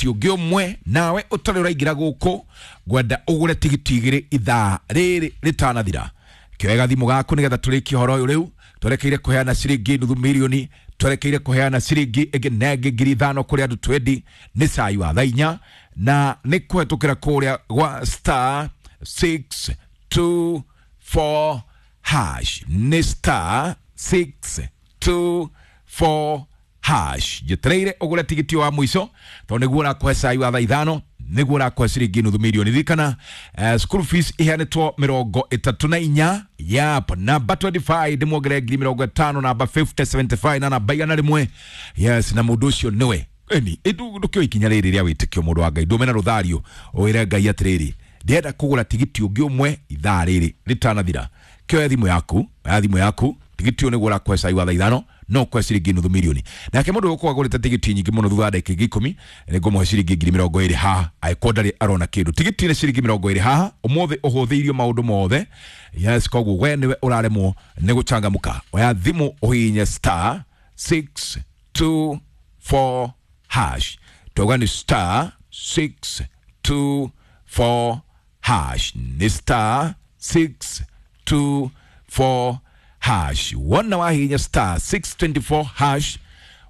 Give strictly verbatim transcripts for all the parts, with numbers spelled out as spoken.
tigiti ũngĩ ũmwe. Nawe ũtarĩ ũraingĩra gũkũ, ngwenda ũgũre tigiti igĩrĩ ithaa rĩrĩ rĩtanathira. Kĩoe gathimũ gaku nĩgetha tũrĩkie ũhoro ũyũ. Rĩu twerekeire kũheana ciringi nuthu mirioni, twerekeire kũheana ciringi ĩngĩ na ĩngĩ ngiri ithano kũrĩ andũ twendi. Nĩ cai wa thaa inya na nĩ kũhetũkĩra kũrĩa gwa star six two four hash, nĩ star six two four hash. Njetereire ũgũre tigiti wa mũico tondũ nĩguo ũrakũhe cai wa thaa ithano, nĩguo ũrakũhe ciringi nuthu mirioni. Ririkana uh, school fees iheanĩtwo mĩrongo ĩtatũ na inya. Yap, namba mĩrongo ĩĩrĩ na ithano ndĩmuongerere ngiri mĩrongo ĩtano, namba mĩrongo ĩnana mĩrongo ĩtano na ithano na namba igana rĩmwe. Yes, na mũndũ ũcio nĩwe eni ndũkĩoe ikinya rĩrĩ rĩa wĩtĩkio. Mũndũ wa Ngai, ndũme na rũthario ũwĩre Ngai atĩrĩrĩ, ndĩrenda kũgũra tigiti ũngĩ ũmwe ithaa rĩrĩ rĩtanathira. Kĩoya thimũ yaku, oya thimũ yaku. Tigiti ũyũ nĩguo ũrakũhe cai wa thaa ithano, no kũhe ciringi nuthu mirioni. Nake mũndũ ũgũkorwo agũrĩte tigiti nyingĩ mũno, thutha wa ndagĩka ingĩ ikũmi nĩngũmũhe ciringi ngiri mĩrongo ĩrĩ haha angĩkorwo ndarĩ arona kĩndũ. Tigiti nĩ ciringi mĩrongo ĩrĩ haha. Ũmũthĩ ũhũthĩirio maũndũ mothe. Yes, koguo we nĩwe ũraremwo nĩ gũcangamũka, oya thimũ ũhihinye star six two four hash. Twauga nĩ star six two four hash, nĩ star six two four hash. Wona wahihinya star six two four hash,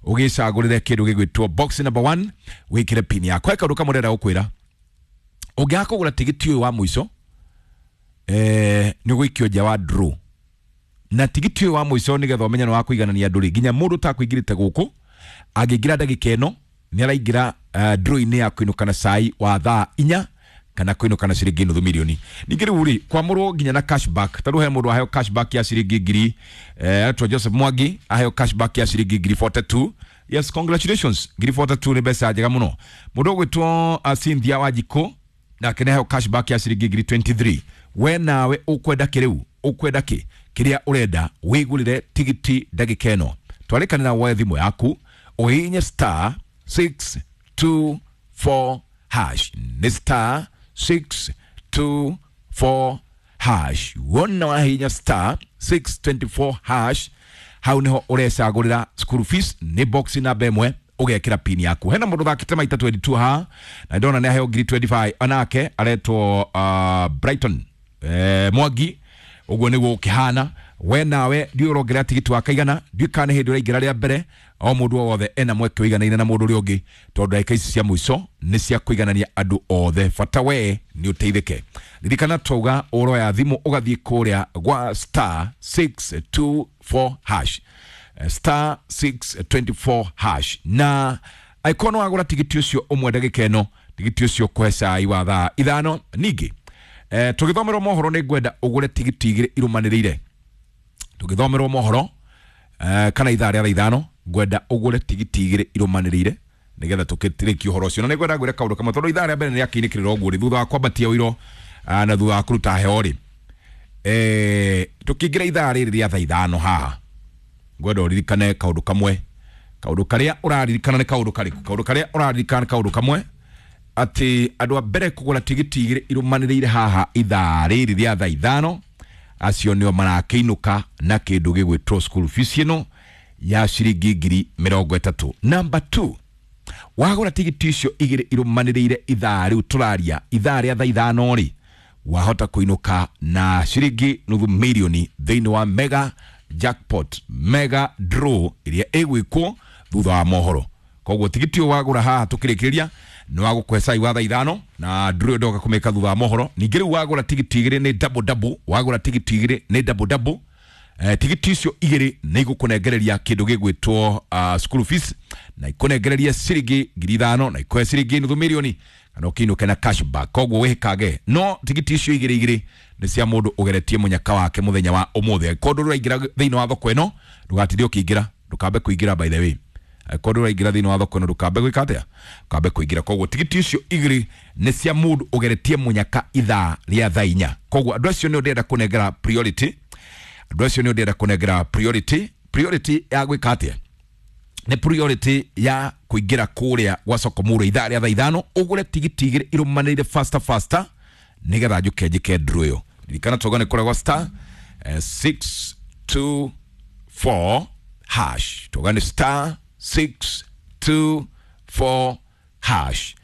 ũgĩcagũrĩre kĩndũ gĩgwĩtwo box number one, wĩkĩre pin yaku. He kaũndũ kamwe ndĩrenda gũkwĩra: ũngĩaga kũgũra tigiti ũyũ wa mũico, eh, nĩ ũgũikio nja wa draw. Na tigiti ũyũ wa mũico, nĩgetha ũmenye nĩ wa kũiganania andũ rĩ, nginya mũndũ ũtakũingĩrĩte gũkũ angĩingĩra ndagĩka ĩno nĩ araingĩra uh, draw-inĩ ya kũinũka na cai wa thaa inya kana kũinũka na ciringi nuthu milioni. Ningĩ rĩu rĩ, kwamũrwo nginya na cashback. Tarĩu he mũndũ aheo cashback ya ciringi ngiri, eh, etwo Joseph Mwangi, aheo cashback ya ciringi ngiri mĩrongo ĩnana na igĩrĩ. Yes, congratulations, ngiri mĩrongo ĩnana na igĩrĩ nĩ mbeca njega mũno. Mũndũ ũgwĩtwo uh, Cynthia Wanjikũ nake nĩ aheo cashback ya ciringi ngiri mĩrongo ĩĩrĩ na ithatũ. We nawe ũkwenda kĩ rĩu? Ũkwenda kĩ? Kĩrĩa ũrenda wĩgũrĩre tigiti ndagĩka ĩno. Twarĩkanĩra woe thimũ yaku ũhihinye star six two four hash, nĩ star six two four hash. Wona wahihinya star six two four hash, hau niho ũrecagũrĩra school fees, nĩ box namba ĩmwe, ũgekĩra pin yaku. Hena mũndũ thakĩte maita mĩrongo ĩĩrĩ na igĩrĩ haha na ndona nĩ aheo ngiri mĩrongo ĩĩrĩ na ithano. Onake aretwo uh, Brighton eh, Mwangi. Ũguo nĩguo ũkĩhana. We nawe ndiũ ũrongerera tigiti wa kaigana, ndiũ kana nĩ hĩndĩ ũraingĩra rĩa mbere. O mũndũ o wothe ena mweke ũiganaine na mũndũ ũrĩa ũngĩ, tondũ ndagĩka ici cia mũico nĩ cia kũiganania andũ othe. Bata we nĩ ũteithĩke. Ririkana twauga ũroya thimũ ũgathiĩ kũrĩa gwa star six two four hash, Eh, star six two four hash. Na angĩkorwo nĩ wagũra tigiti ũcio ũmwe ndagĩka ĩno, tigiti ũcio ũkũhe cai wa thaa ithano. Ningĩ eh, tũgĩthomerwo mohoro nĩ ngwenda ũgũre tigiti igĩrĩ irũmanĩrĩire. Tũgĩthomerwo mohoro eh, kana ithaa rĩa thaa ithano, ngwenda ũgũre tigiti igĩrĩ irũmanĩrĩire nĩgetha tũkĩrĩkie ũhoro ũcio. Na nĩ ngwenda ngwĩre kaũndũ kamwe, tondũ ithaa rĩa mbere nĩ rĩakĩinĩkĩrĩra ũguo rĩ, thutha wa kwambatia ũiro ah, na thutha wa kũruta heo rĩ, eh, tũkĩingĩra ithaa rĩrĩ rĩa thaa ithano haha, ngwenda ũririkane kaũndũ kamwe. Kaũndũ karĩa ũraririkana nĩ kaũndũ karĩkũ? Kaũndũ karĩa ũraririkana nĩ kaũndũ kamwe, atĩ andũ a mbere kũgũra tigiti igĩrĩ irũmanĩrĩire haha ithaa rĩrĩ rĩa thaa ithano, acio nĩo marakĩinũka na kĩndũ gĩgwĩtwo school fees ĩno ya ciringi ngiri mĩrongo ĩtatũ. Number two, wagũra tigiti icio igĩrĩ irũmanĩrĩire ithaa rĩu tũraria, ithaa rĩa thaa ithano rĩ, wahota kũinũka na ciringi nuthu mirioni thĩinĩ wa mega jackpot, mega draw ĩrĩa ĩgwĩkwo thutha wa mohoro. Koguo tigiti ũyũ wagũra haha tũkĩrĩkĩrĩria nĩ wa gũkũhe cai wa thaa ithano, na draw ĩyo ndoka kũmĩka thutha wa mohoro. Ningĩ rĩu wagũra tigiti igĩrĩ nĩ double double, wagũra tigiti igĩrĩ nĩ double double. Eh, tigiti icio igĩrĩ nĩ igũkũnengereria kĩndũ gĩgwĩtwo uh, school fees, na ikũnengereria ciringi ngiri ithano, na ikũhe ciringi nuthu mirioni, kana ũkĩinũke na cashback. Koguo wĩhĩkage no tigiti icio igĩrĩ igĩrĩ nĩ cia mũndũ ũgeretie mũnyaka wake mũthenya wa ũmũthĩ. Angĩkorwo ndũraingĩra thĩinĩ wa thoko ĩno, ndũgatinde ũkĩingĩra, ndũkambe kũingĩra. By the way, angĩkorwo ndũraingĩra thĩinĩ wa thoko ĩno, ndũkambe gwĩka atĩa? Ndũkambe kũingĩra. Koguo tigiti icio igĩrĩ nĩ cia mũndũ ũgeretie mũnyaka ithaa rĩa thaa inya. Koguo andũ acio nĩo ndĩrenda kũnengera priority. Andũ acio nĩo ndĩrenda kũnengera priority. Priority ya gwĩka atĩa? Nĩ priority ya kũingĩra kũrĩa gwa Sokomuro ithaa rĩa thaa ithano, ũgũre tigiti igĩrĩ irũmanĩrĩire faster faster, nĩgetha njũke njĩke draw ĩyo. Ririkana twauga nĩ kũrĩa gwa star eh, six two four hash. Twauga nĩ star six two four hash.